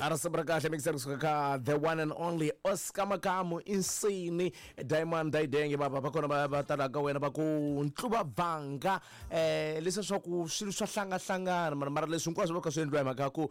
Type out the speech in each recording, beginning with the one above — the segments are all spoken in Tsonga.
Risimu ra kahle mixer kusuka ka the one and only Oscar Makamu Insini Diamond Didenge va va kona va va tala ka wena va ku ntluva vanga leswi swa ku swilo swa hlangahlangana mara mara leswi hinkwaswo va kha swi endliwa hi mhaka ya ku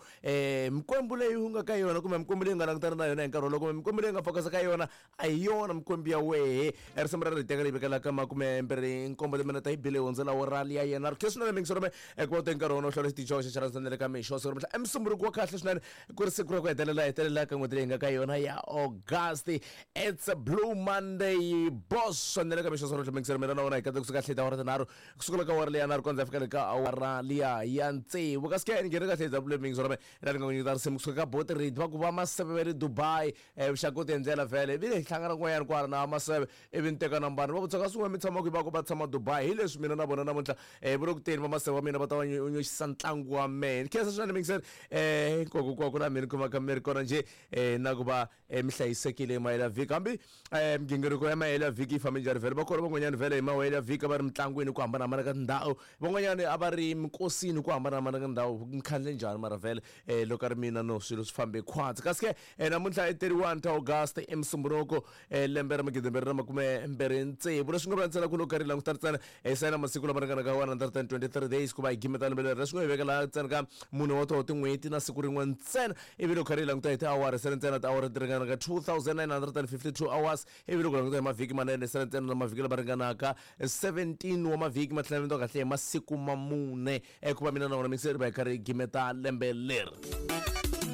mikwembu leyi u nga ka yona kumbe mikwembu leyi u nga langutana na yona hi nkarhi wolowo kumbe mikwembu leyi u nga focus ka yona A hi yona mikwembu ya wehe. E risimu rero hi teka leyi vekelaka 27 timinete yi bile yi hundzela awara liya yena. Ri khe swinene mingiso rome ku va u te nkarhi wona u hlawula xitichi xa wexe xa rhandza ka mixo siku ra namuntlha. I Musumbhunuko wa kahle swinene ku ri siku ra ku hetelela hetelela ka n'hweti leyi hi nga ka yona ya August. It's a blue Monday boss swinene ka mixo siku ra namuntlha mingiso mina na wena hi katsa kusuka kahle hi tiawara tinharhu kusukela ka awara liya nharhu kondza hi fika le ka awara liya ya tsevu. Kasi ke ni nghene kahle hi W mingiso rome ra ni nga ku nyiketa risimu kusuka ka Boti Reed va ku va Maseve va le Dubai. Vuxaka ku tiendlela vhele ivi hi hlangana kun'wanyana kwala na Maseve ivi ni teka nambara ni va vutisa kasi n'we mi tshama kwihi va ku va tshama Dubai hi leswi mina na vona namuntlha va le ku teni va Maseve wa mina va ta va nyoxisa ntlangu wa mehe ni khensa swinene mingiseri hinkwako kwako laha mi ni kumaka mi ri kona njhe na ku va mi hlayisekile hi mahelo ya vhiki hambi migingiriko ya mahelo ya vhiki yi fambe njhani vhele va kona van'wanyana vhele hi mahelo ya vhiki a va ri mitlangwini ku hambanahambana ka tindhawu van'wanyana a va ri minkosini ku hambanahambana ka ndhawu mi khandle njhani mara vhele loko a ri mina no swilo swi fambe khwatsi kasi ke namuntlha i 31 ta August i Musumbhunuko lembe ra 2026 leswi nga vula ntsena ku loko karhi hi languta ntsena hi sayina masiku lama ringanaka 123 days ku va hi gimeta lembe leri leswi nga hi vekela ntsena ka mune wa toho tin'hweti na siku rin'we ntsena ivi loko karhi hi languta hi tiawara sele ntsena tiawara ti ringanaka 2952 hours ivi loko languta hi mavhiki manene sele ntsena na mavhiki lama ringanaka 17 wa mavhiki ma tlhela kahle hi masiku ma mune ku va mina na wena mixeri va hi karhi hi gimeta lembe leri.